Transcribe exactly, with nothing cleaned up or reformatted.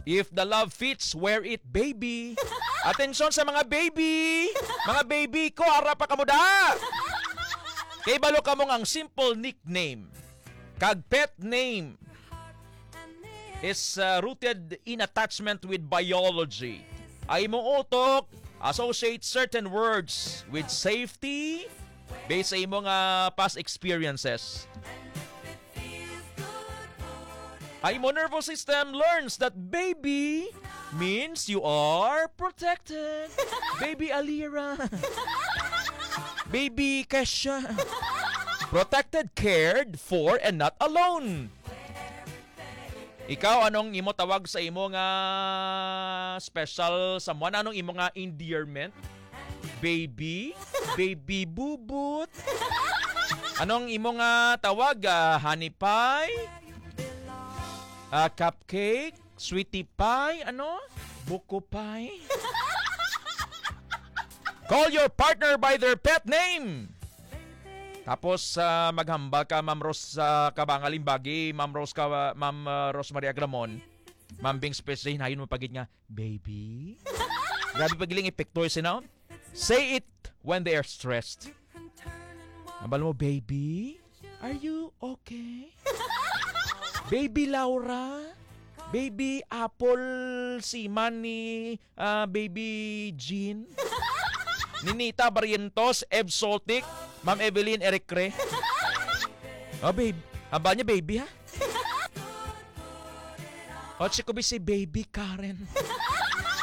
If the love fits, wear it, baby. Atensyon sa mga baby! Mga baby ko, ara pa kamo da! Kay balo kamo nga ang simple nickname kag pet name is uh, rooted in attachment with biology. Ay mo utok, associate certain words with safety based sa imo nga past experiences. Ay mo nervous system learns that baby means you are protected. Baby Alira. Baby Kesha. Protected, cared for, and not alone. Ikaw, anong imo tawag sa imo nga special someone? Anong imo nga endearment? Baby? Baby bubot? Anong imo nga tawag? Ah, honey pie? Ah, cupcake? Sweetie pie? Ano? Buko pie? Call your partner by their pet name. Tapos, ah, maghambal ka, Ma'am Rose, sa Kabangal Imbagi, Ma'am Rose ka, Ma'am, ah, Rosemary Agramon, Ma'am Bing Spes, hinayon mo pagid nga, "Baby?" Grabe pa giling epekto, you know? Say it when they are stressed. Ambal mo, "Baby, are you okay? Baby Laura? Baby Apple, si Manny, ah, Baby Jean?" Ninita Barrientos, Ev Soltic, Ma'am Evelyn Ericre. Oh, babe. Ambal niya, "Baby, ha?" O, si Kubi si Baby Karen.